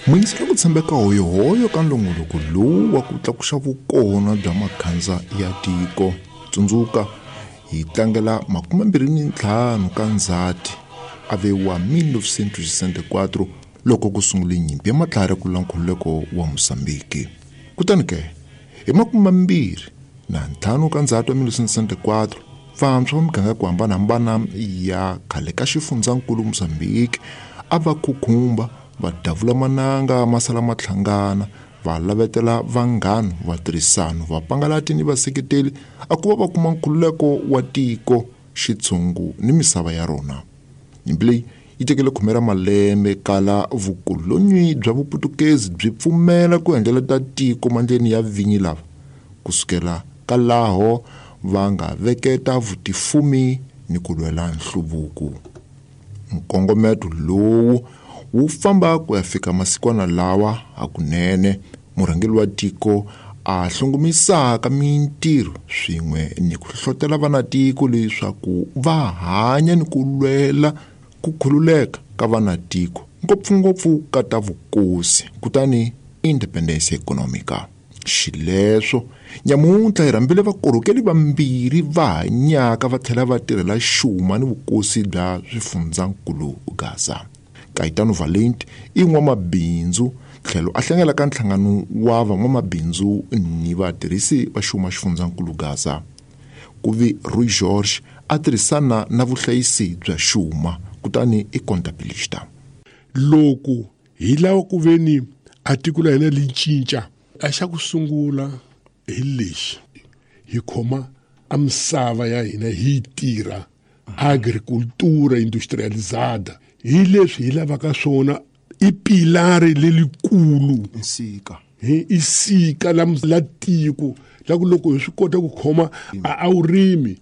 Muyingisela ku tshembeka hoyohoyo ka nongonoko lowu wa ku tlakuxa vukona bya makhandza ya tiko. Tsundzuka hi tlangela 25 ka Ndzhati a ve wa 1964 loko ku sungule nyimpi ya matlhari ku lwa nkhululeko wa Mozambiki. Kutani ke hi 25 ka Ndzhati wa 1964 vantshwa va miganga ya ku hambanahambana ya khale ka xifundzankulu Mozambiki a va khukhumba va davula mananga ma sala ma hlangana va lavetela vanghana vatirhisano vapangalati ni vaseketeli a ku va va kuma nkhululeko wa tiko xitshungu ni misava ya rona. Nyimpi leyi yi tekele khume ra malembe kala vukolonyi bya Vuputukezi byi pfumela ku endleleta tiko mandleni ya vinyi lava kusukela ka laho va nga veketa vutifumi ni ku lwela nhluvuko. Nkongometo lowu wu famba ku ya fika masikwana lawa hakunene murhangeri wa tiko a hlongomisaka mintirho swin'we ni ku hlohlotela vanatiko leswaku va hanya ni ku lwela ku khululeka ka vanatiko ngopfungopfu ka ta vukosi kutani independence economica. Xileswo nyamuntlha hi rhambile vakorhokeli vambirhi va hanyaka va tlhela va tirhela xuma ni vukosi bya swifundzankulu Gaza. Kaitano Valente i n'wamabindzu tlhelo a hlangela ka nhlangano wa van'wamabindzu ni vatirhisi va xuma xifundzankulu Gaza. Ku vi Rui George a tirhisana na vuhlayisi bya xuma kutani i contabilista. Loko hi lava ku ve ni a tiko la hina li cinca a xa ku sungula hi lexi hi khoma a misava ya hina hi yi tirha agricultura industrializada hi leswi hi lavaka swona i pilari lelikulu nsika hi i sika la, la tiko la ku loko hi swi kota ku khoma a wu rimi.